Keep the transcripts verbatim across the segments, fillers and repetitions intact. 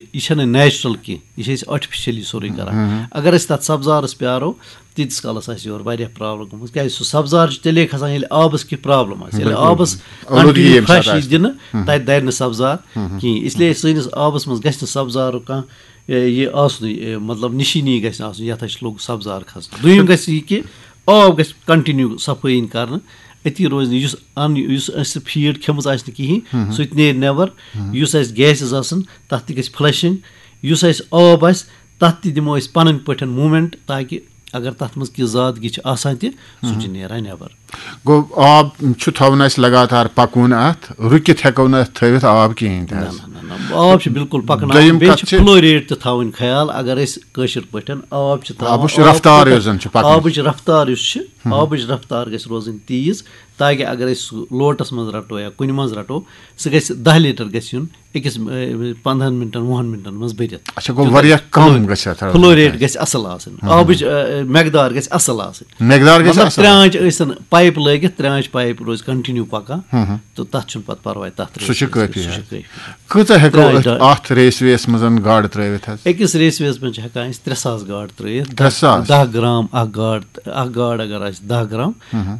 یہِ چھَنہٕ نیچرل کینٛہہ، یہِ چھِ أسۍ آرٹیفیشلی سورُے کران۔ اگر أسۍ تَتھ سبزارَس پیارو، تیٖتِس کالَس آسہِ یورٕ واریاہ پرابلم گٔمٕژ، کیازِ سُہ سبزار چھُ تیٚلے کھسان، ییٚلہِ آبَس کینٛہہ پرابلم آسہِ، ییٚلہِ بِلکُل۔ آبَس آلوٗدگی continue ییٚمہِ ساتہٕ fresh آسہِ۔ یی دِنہٕ، تَتہِ دَرِ نہٕ سبزار کِہیٖنۍ۔ اس لیے سٲنِس آبَس منٛز گژھِ نہٕ سبزارُک کانٛہہ، اے، یہِ آسنُے، اے، مطلب، نِشٲنی گژھِ نہٕ آسُن، یَتھ أسۍ لوٚگ سبزار کھسنہٕ۔ دوٚیِم گژھِ یہِ کہِ آب گژھِ continue صفٲیی یِنۍ کرنہٕ، أتی روزِ نہٕ یُس اَن-، یُس اَسہِ فیٖڈ کھیٚمٕژ آسہِ نہٕ کِہیٖنۍ، سُہ تہِ نیرِ نٮ۪بر۔ یُس اَسہِ گیسز آسَن، تَتھ تہِ گژھِ فلشنگ۔ یُس اَسہِ آب آسہِ، تَتھ تہِ دِمو أسۍ پَنٕنۍ پٲٹھۍ موٗمینٹ، تاکہِ اگر تَتھ منٛز کینٛہہ زادگی چھِ آسان تہِ، سُہ چھُ نیران نٮ۪بر۔ گوٚو، آب چھُ تھاوُن اَسہِ لگاتار پَکوُن اَتھ، رُکِتھ ہٮ۪کو نہٕ اَتھ تھٲوِتھ آب کِہیٖنۍ تہِ نہ، حظ۔ نہ، نہ، نہ۔ آب چھُ بِلکُل پَکناوُن۔ دوٚیِم بیٚیہِ کَتھ چھُ چھِ فلو ریٹ تہِ تھاوٕنۍ خیال، اگر أسۍ کٲشِر پٲٹھۍ آب چھِ تھاوان، آبٕچ آب رفتار کوٗتاہ، یۄس زَن چھِ پَکان۔ آبٕچ رفتار یُس چھِ، آبٕچ رفتار گژھِ روزٕنۍ تیز، تاکہِ اگر أسۍ سُہ لوٹَس منٛز رَٹو یا کُنہِ منٛز رَٹو، سُہ گژھِ دَہ لیٖٹر گژھِ یُن أکِس، اے، پنٛدہَن مِنٹَن، وُہَن مِنٹَن منٛز بٔرِتھ۔ اچھا، گوٚو، تیوٗتاہ واریاہ کم فلو-، گژھِ اَتھ فلو رَٹُن۔ ریٹ گژھِ اَصٕل آسٕنۍ۔ آبٕچ، اے، مقدار گژھِ اَصٕل آسٕنۍ۔ مقدار گژھِ مطلب، اَصٕل۔ ترٛانٛچ ٲسِن پایِپ لٲگِتھ، ترٛانٛچ پایِپ روزِ کنٹِنیو پَکان۔ تہٕ تَتھ چھُنہٕ پَتہٕ پَرواے، تَتھ سُہ چھُ ریسہِ منٛز کٲفی سُہ چھُ حظ۔ کٲفی۔ کۭژاہ ہٮ۪کو ترٛانٛچ أتھۍ، ڈاے۔ اَتھ ریس ویس منٛز گاڈٕ ترٲوِتھ حظ؟ أکِس ریس ویس منٛز چھِ ہٮ۪کان أسۍ ترٛےٚ ساس گاڈٕ ترٲوِتھ۔ ترٛےٚ ساس؟ دَہ گرام اَکھ گاڈ، اَکھ گاڈ اگر آسہِ دَہ گرام،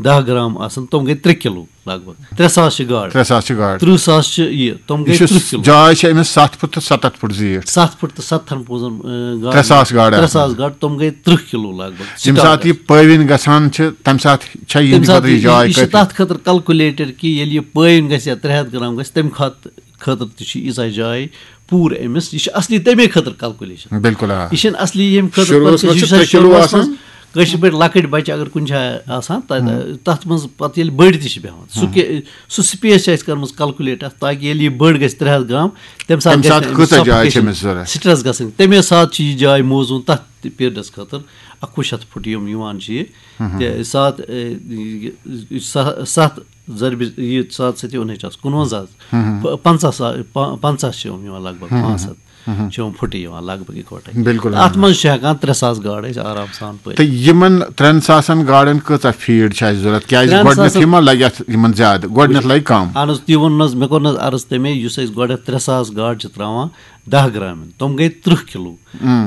دَہ گرام آسَن، تِم گٔے ترٛےٚ کِلوٗ لگ بگ۔ ترٛےٚ ساس چھِ گاڈٕ۔ ترٛےٚ ساس چھِ گاڈٕ۔ تٕرٛہ ساس چھِ یہِ، تِم گٔے یہِ چھُ تٕرٛہ کِلوٗ۔ جاے چھِ أمِس ستھ فُٹ تہٕ ستتھ فُٹ زیٖٹھ۔ ستھ فُٹ تہٕ ستتھن پوٗزن، اَ، گاڈٕ۔ ترٛےٚ ساس گاڈٕ ترٛےٚ ساس آسان۔ گاڈٕ، تِم گٔے ترٛہ کِلوٗ لگ بگ۔ ییٚمہِ ساتہٕ یہِ پٲوِن گژھان چھِ، تَمہِ ساتہٕ چھا یِہِنٛدِ تَمہِ ساتہٕ خٲطرٕ یہِ یہِ، جاے یہِ چھِ کٲفی؟ تَتھ خٲطرٕ کلکولیٹر کہِ ییٚلہِ یہِ پٲوِن گژھِ یا ترٛےٚ ہَتھ گرام گژھِ، تَمہِ کھۄتہٕ، خٲطرٕ تہِ چھِ ییٖژاہ جاے پوٗرٕ أمِس۔ یہِ چھِ اصلی تَمے خٲطرٕ کلکولیشن۔ بِلکُل، آ۔ یہِ چھِنہٕ اصلی ییٚمہِ خٲطرٕ شروٗعس پَتہٕ منٛز یُس چھِ اَسہِ ترٛےٚ کِلوٗ شروٗعس آسان۔ منٛز کٲشِر پٲٹھۍ لۄکٕٹۍ بَچہِ اگر کُنہِ جایہِ آسان، تَتہِ، تَتھ منٛز پَتہٕ ییٚلہِ بٔڑۍ تہِ چھِ بیٚہوان، سُہ کہِ-، سُہ سپیس چھِ اَسہِ کٔرمٕژ کلکولیٹ اَتھ، تاکہِ ییٚلہِ یہِ بٔڑ گژھِ ترٛےٚ ہَتھ گرام، تَمہِ ساتہٕ تَمہِ گژھِ ساتہٕ نہٕ أمِس کۭژاہ جاے چھِ suffocation، أمِس ضوٚرَتھ؟ سٹرٛس گژھٕنۍ۔ تَمے ساتہٕ چھِ یہِ جاے موزوٗن تَتھ تہِ پیٖریڈَس خٲطرٕ، اَکوُہ شَتھ فُٹ یِم یِوان چھِ یہِ۔ تہٕ ساتھ، اے، یہِ، یہِ سَہ-، سَتھ ضربِ، یہِ ساتھ سۭتۍ اوٚنٕچ آسہٕ کُنوَنزاہ حظ۔ پ-، پنٛژاہ سا-، پا-، پنٛژاہ چھِ یِم یِوان لگ بگ، پانٛژھ ہَتھ چھِ یِم پھُٹہٕ یِوان لگ بگ اِکوَٹَے۔ بِلکُل، تہٕ اَتھ منٛز چھِ ہٮ۪کان ترٛےٚ ساس گاڈٕ أسۍ آرام سان پٲلِتھ۔ تہٕ یِمَن ترٛٮ۪ن ساسَن گاڈَن کۭژاہ فیٖڈ چھِ اَسہِ ضوٚرَتھ؟ کیٛازِ ترٛٮ۪ن گۄڈٕنٮ۪تھٕے ساسَن ما لَگہِ اَتھ یِمَن زیادٕ؟ گۄڈٕنٮ۪تھ لَگہِ کَم۔ اَہَن حظ، تی ووٚن نہٕ حظ، مےٚ کوٚر نہٕ حظ عرض تَمے، یُس أسۍ گۄڈٕنٮ۪تھ ترٛےٚ ساس گاڈٕ چھِ ترٛاوان، دَہ گرامَن، تِم گٔے تٕرٛہ کِلوٗ۔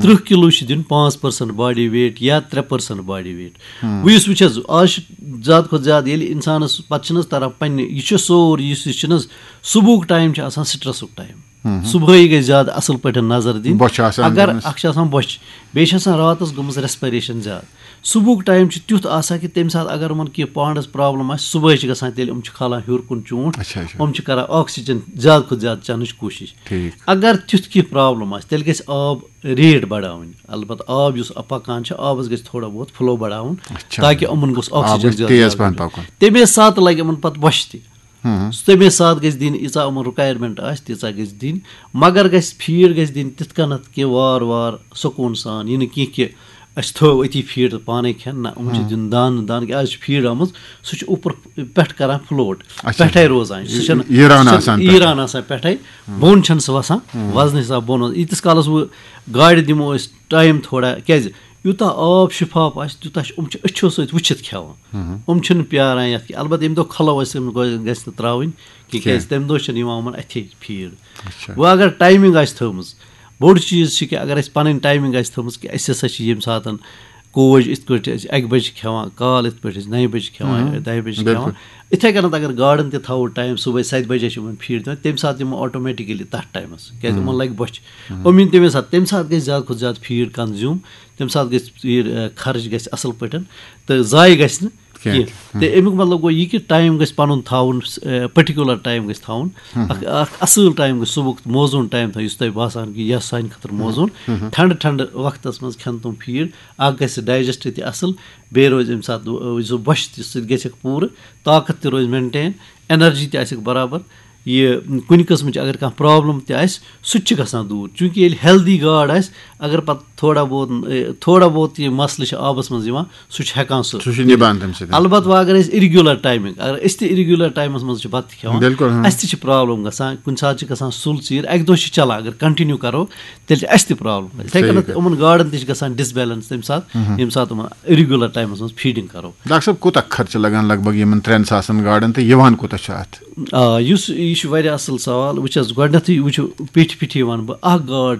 تٕرٛہ کِلوٗ چھِ دیُن پانٛژھ percent body weight یا ترٛےٚ percent body weight۔ وۄنۍ یُس وٕچھ حظ، آز چھِ زیادٕ کھۄتہٕ زیادٕ ییٚلہِ اِنسانَس پَتہٕ چھِنہٕ حظ تَران پنٛنہِ، یہِ چھُ سورُے یُس یہِ چھِنہٕ حظ، صُبحُک ٹایم چھُ آسان سٹرٛسُک ٹایم۔ صُبحٲے گژھِ زیادٕ اَصٕل پٲٹھۍ نظر دِنۍ۔ بۄچھِ آسان اگر گٔمٕژ۔ اَکھ چھِ آسان بۄچھِ، بیٚیہِ چھِ آسان راتَس گٔمٕژ ریسپریشن زیادٕ۔ صُبحُک ٹایم چھُ تیُتھ آسان کہِ تَمہِ ساتہٕ اگر یِمَن کینٛہہ پانَس پرابلم آسہِ، صُبحٲے چھِ گژھان، تیٚلہِ یِم چھِ کھالان ہیوٚر کُن چونٛٹھ، اچھا، اچھا۔ یِم چھِ کران آکسیجن زیادٕ کھۄتہٕ زیادٕ چٮ۪نٕچ کوٗشِش۔ ٹھیٖک۔ اگر تیُتھ کینٛہہ پرابلم آسہِ، تیٚلہِ گژھِ آب ریٹ بڑاوٕنۍ۔ البتہ آب یُس پکان چھُ، آبَس گژھِ تھوڑا بہت فلو بڑاوُن، اچھا۔ تاکہ یِمَن گوٚژھ آب آکسیجن گژھِ زیادٕ تیز زیادٕ پہن میلُن۔ پکُن۔ تَمے ساتہٕ لگہِ یِمَن پتہٕ بۄچھِ تہِ۔ تَمے ساتہٕ گژھِ دِنۍ، ییٖژاہ یِمَن رِکوایرمنٹ آسہِ، تیٖژاہ گژھِ دِنۍ، مگر گژھِ فیٖڈ گژھِ دِنۍ تِتھ کٔنَتھ کہِ وار وار سکوٗن سان، یہِ نہٕ کینٛہہ کہِ أسۍ تھٲو أتی فیٖڈ تہٕ پانَے کھٮ۪ن، نہ، یِمَن چھِ دیُن دانہٕ دانہٕ، کہِ آز چھِ فیٖڈ آمٕژ، سُہ چھُ اُپر پٮ۪ٹھ کران فلوٹ، اچھا۔ پٮ۪ٹھَے روزان، سُہ چھُنہٕ، یہِ ران سُہ چھُنہٕ آسان یہِ پٮ۪ٹھٕ۔ ران آسان پٮ۪ٹھَے، بۄن چھَنہٕ سُہ وَسان، وزنہٕ حساب بۄن وَسان۔ ییٖتِس کالَس وۄنۍ گاڈِ دِمو أسۍ ٹایم تھوڑا، کیٛازِ یوٗتاہ آب شِفاف آسہِ، تیوٗتاہ چھِ، یِم چھِ أچھو سۭتۍ وٕچھِتھ کھٮ۪وان۔ یِم چھِنہٕ پیاران یَتھ کینٛہہ۔ البتہ ییٚمہِ دۄہ کھُلو أسۍ، یِم گۄ-، گژھِ نہٕ ترٛاوٕنۍ کینٛہہ، کینٛہہ۔ کیٛازِ تَمہِ دۄہ چھَنہٕ یِوان یِمَن اَتھے فیٖڈ۔ اچھا۔ وۄنۍ اگر ٹایمِنٛگ آسہِ تھٲومٕژ، بوٚڑ چیٖز چھِ کہِ اگر اَسہِ پَنٕنۍ ٹایمِنٛگ آسہِ تھٲومٕژ کہِ أسۍ ہسا چھِ ییٚمہِ ساتَن کوج یِتھ کٲٹھۍ أسۍ اَکہِ بَجہِ چھِ کھٮ۪وان، کال یِتھ پٲٹھۍ أسۍ نَیہِ بَجہِ چھِ کھٮ۪وان، دَہہِ بَجہِ چھِ بِلکُل۔ کھٮ۪وان، یِتھَے کٔنَتھ اگر گاڈَن تہِ تھاوو ٹایم، صُبحٲے سَتہِ بَجہِ چھِ یِمَن فیٖڈ دِوان، تَمہِ ساتہٕ یِمو آٹومیٹِکٔلی تَتھ ٹایمَس، کیٛازِ یِمَن لَگہِ بۄچھِ۔ یِم یِن تَمے ساتہٕ، تَمہِ ساتہٕ گژھِ زیادٕ کھۄتہٕ زیادٕ فیٖڈ کنزیوٗم، تَمہِ ساتہٕ گژھِ فیٖڈ، اَ، خرٕچ گژھِ اَصٕل پٲٹھۍ تہٕ ضایع گژھِ نہٕ کینٛہہ۔ کینٛہہ۔ تہٕ اَمیُک مطلب گوٚو یہِ کہِ ٹایم گژھِ پَنُن تھاوُن، اَ، پٔٹِکیوٗلَر ٹایم گژھِ تھاوُن۔ اَکھ، اَکھ اَصٕل ٹایم گژھِ صُبحُک موزوٗن ٹایم تھاوُن، یُس تۄہہِ باسان کہِ یہِ آسہِ سانہِ خٲطرٕ موزوٗن۔ ٹھنٛڈٕ ٹھنٛڈٕ وقتَس منٛز کھٮ۪ن تِم فیٖڈ، اَکھ گژھِ ڈایجسٹ تہِ اَصٕل، بیٚیہِ روزِ اَمہِ ساتہٕ، یُس سُہ بۄچھِ تہِ سۭتۍ گژھٮ۪کھ پوٗرٕ، طاقت تہِ روزِ مینٹین، انرجی تہِ آسٮ۪کھ برابر۔ یہِ کُنہِ قٕسمٕچ اگر کانٛہہ پرابلم تہِ آسہِ، سُہ تہِ چھُ گژھان دوٗر، چوٗنٛکہِ ییٚلہِ ہیلدی گاڈ آسہِ، اگر پتہٕ تھوڑا بہت، اے، تھوڑا بہت یہِ مسلہٕ چھُ آبس منٛز یِوان، سُہ چھُ ہٮ۪کان سُہ۔ سُہ چھُ نِبان تَمہِ سۭتۍ۔ البتہ وۄنۍ اگر أسۍ اِریگیوٗلر ٹایمِنٛگ، اگر أسۍ تہِ اِریگیوٗلر ٹایمس منٛز چھِ بتہٕ کھٮ۪وان، بِلکُل، ہاں۔ اَسہِ تہِ چھِ پرابلم گژھان، کُنہِ ساتہٕ چھِ گژھان سُل ژیٖر، اَکہِ دۄہ چھِ چلان، اگر کنٹِنیو کرو، تیٚلہِ چھِ اَسہِ تہِ پرابلم۔ یِتھَے صحیح کٔنٮ۪تھ کَتھ۔ یِمن گاڈن تہِ چھِ گژھان ڈِسبیلنس تَمہِ ساتہٕ، ییٚمہِ ساتہٕ یِمن اِریگیوٗلر ٹایمس منٛز فیٖڈِنٛگ کرو۔ ڈاکٹر صٲب، کوٗتاہ خرچہٕ لگان لگ بگ یِمن ترٛٮ۪ن ساسن گاڈن تہٕ یِوان کوٗتاہ چھُ اَتھ؟ آ، یُس یہِ چھُ واریاہ اَصٕل سوال۔ وٕچھ حظ، گۄڈٕنٮ۪تھٕے وٕچھو، پیٚٹھۍ پیٚٹھی وَنہٕ بہٕ، اَکھ گاڈ چھِ